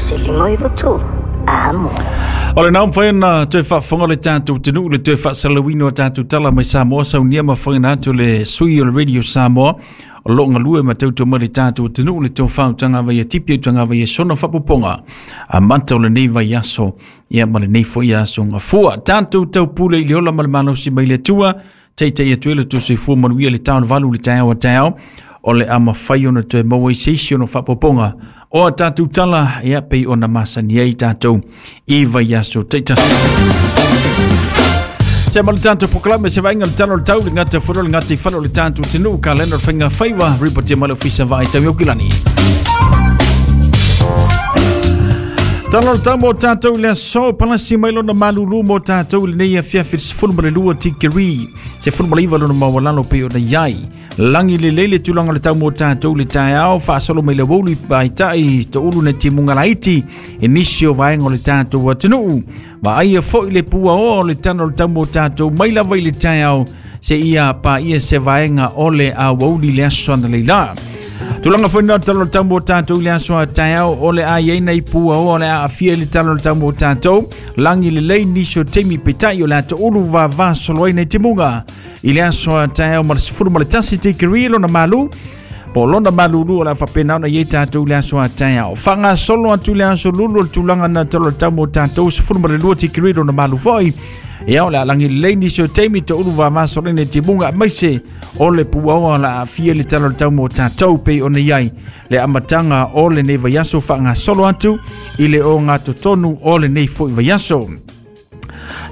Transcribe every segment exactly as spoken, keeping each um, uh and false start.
tasi lima iwa tolu. Amo. O le nau mwhai na toe whaafonga le tātou te nuu le toe whaasalawino a tātou tala mai Samoa saunia ma whaina atu le sui o le Radio Samoa o lo ngalue ma tauto mai le tātou te nuu le tau whautanga vai e tipi au tanga vai e sona whapoponga a manta o le nei vai aso ia ma le nei fo ia aso ngā fua tātou tau pule i le ola ma le malosi mai le tua teitei atu e le tō fua manuia le tau valu le taeo a taeo o le ama whai ona toe maua i seisi ono whapoponga o a tātou tala ia pei ona masani ai tātou i vai aso teitasi. Se ma le tātou pokalame se vainga le talo le tau le ngata wharo le ngata i wharo le tātou te nuu ka lena whainga whaiwa ripotia mai le ofisa vai tau Aukilani. Talo le tau mo tātou le aso palasi mai lona malulu mo tātou le nei afiafi sefulu ma le lua tikiri sefulu ma le iwa lona mawalalo pei ona iai. Langi le lele tūlanga le tau mo tātou le taeao whaasolo mai le wolu i tai te ulu na timunga laiti e nisi o vaenga o le tātou atunuu. Ma aia foi le pua o le tano le tau mo tātou mai lava i le taeao se ia pa ia se vaenga o le a wouli le aso ana leila. Tūlanga foi nā talo le tau mo tātou le aso a taeao o le a iaina i pua o le a afia le talo le tau mo tātou. Langi le lei nisi o teimi petai o le a te ulu vava solo ai nei timunga. I le aso a taeao ma le sefulu ma le tasi tikiri lona malu. Po lona malulu o la whapena ona i tātou le aso a taeao. Whanga solo atu le aso lulu o le tūlanga na talo le tau mo tātou sefulu ma le lua tikiri lona malu foi. Ia o le alangi lei nisi o teimi te ulu vava solo nei timunga maise o le puaoa la afia le talo le tau mo tātou pei ona iai. Le amatanga o le nei vaiaso whanga solo atu i le o ngā totonu o le nei foi vaiaso.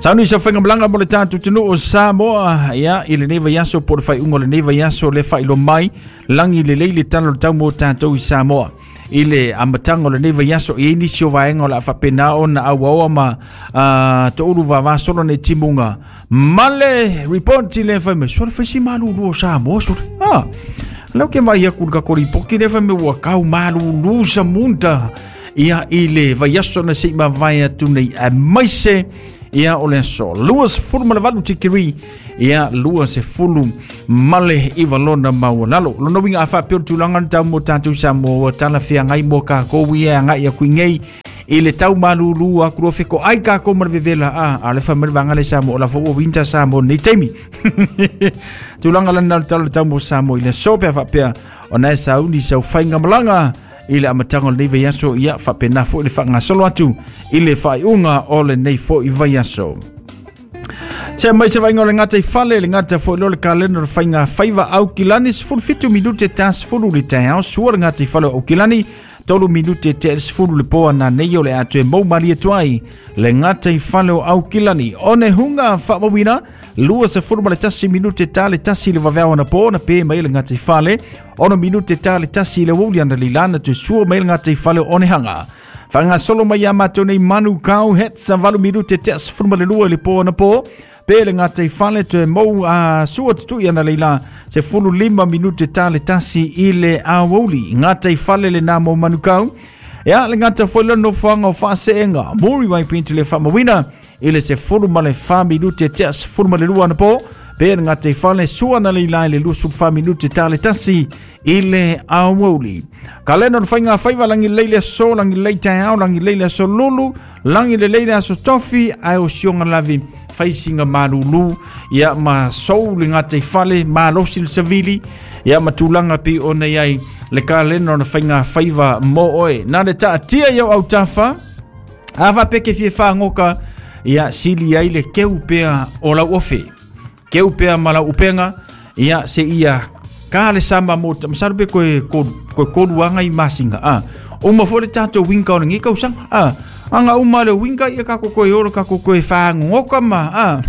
Sauni sa whainga malanga mo le tātou tunu o Samoa ia i le nei vaiaso po le whaiunga le nei vaiaso le whailo mai langi le lei le talo le tau mo tātou i Samoa. I le amatanga o le nei vaiaso i nisi o vaenga o la whapena ona au aoa ma uh, te uru vavasolo nei timunga. Male report i le whai me suara whaisi malulu o Samoa sura. Ah, lau ke mai aku ka koripoki le whai me ua kau malulu sa munta. Ia i le vaiaso na sei mawai atu nei a maise ia o le aso. Lua se fulu ma le valu tikiri ia lua se fulu male i walona maualalo. Lona winga a whapeo tūlanga na tau mo tātou sa mo tala whia ngai mo kākou ia ngai a kui ngei i le tau malulu a kurua wheko ai kākou ma le vevela a a le whamere wanga le sa mo o la fo winta sa mo nei teimi. Tūlanga lana le talo tau mo sa mo i le aso pea whapea o nai sa uni sau whainga malanga i le amatanga o le nei vaiaso ia whapena fo i le whangasolo atu i le whaiunga o le nei fo i vaiaso. Se mai se vainga o le ngata i fale, le ngata fo i lo le kalena o le whainga whaiwa Aukilani, sefulu fitu minute ta sefulu le taeao, sua le ngata i fale o Aukilani, tolu minute te sefulu le poa na nei o le atu e mau mali atu ai, le ngata i fale o Aukilani. O ne hunga whaamawina, lua sefulu ma le tasi minute ta le tasi le waweao na po, na pe mai le ngata i fale, ono minute ta le tasi le wuli ana lilana te sua mai le ngata i fale o onehanga. Whanga solo mai a mātou nei manu kau het sa valu minute te sefulu ma le lua le po na po, pe le ngata i fale te mau a sua tutui ana leila se fulu lima minute ta le tasi i le awouli. Ngata i fale le nā mō manu kau. Ia le ngata foi le nofoanga o whaaseenga. Mori wai pintu le whamawina i le se fulu ma le wha minute te sefulu ma le lua na po. Pe le ngata i fale sua na leila i le lusu wha minute ta le tasi i le awouli. Ka lena o whainga whaiwa langi leile so, langi lei taeao, langi leile so lulu, langi le leile aso tofi, ae o sionga lavi whaisinga malulu, ia ma sou le ngata i fale, ma losi le savili, ia ma tūlanga pi o nei ai le ka lena o whainga whaiwa mō oe. Nā le taatia iau au tawha, awa peke fie whangoka, ia sili ai le keu pea o lau ofe. Keu pea ma lau upenga, ia se ia ka le sama mo masalu pe koe koe koruanga i masinga a uma fo le tātou winka o le ngika usanga a anga uma le winka ia kako koe oro kako koe whangoka ma a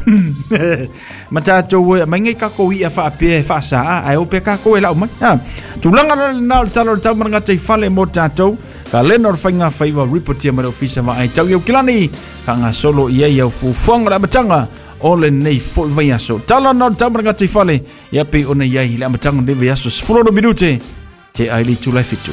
ma tātou e mai ngai kako ia whaapea e whaasa a ai ope kako e lau mai a tūlanga la nā o le talo le tau maranga tei fale mo tātou ka lena o le whainga whaiwa ripotia ma le ofisa ma ai tau iau kilani ka ngā solo ia iau fufuanga le amatanga o le nei foi vaiaso. Tala nā o le tau maranga tei fale ia pe o nei ai le amatanga o le vaiaso sefulu minute te ai le tūlai fitu.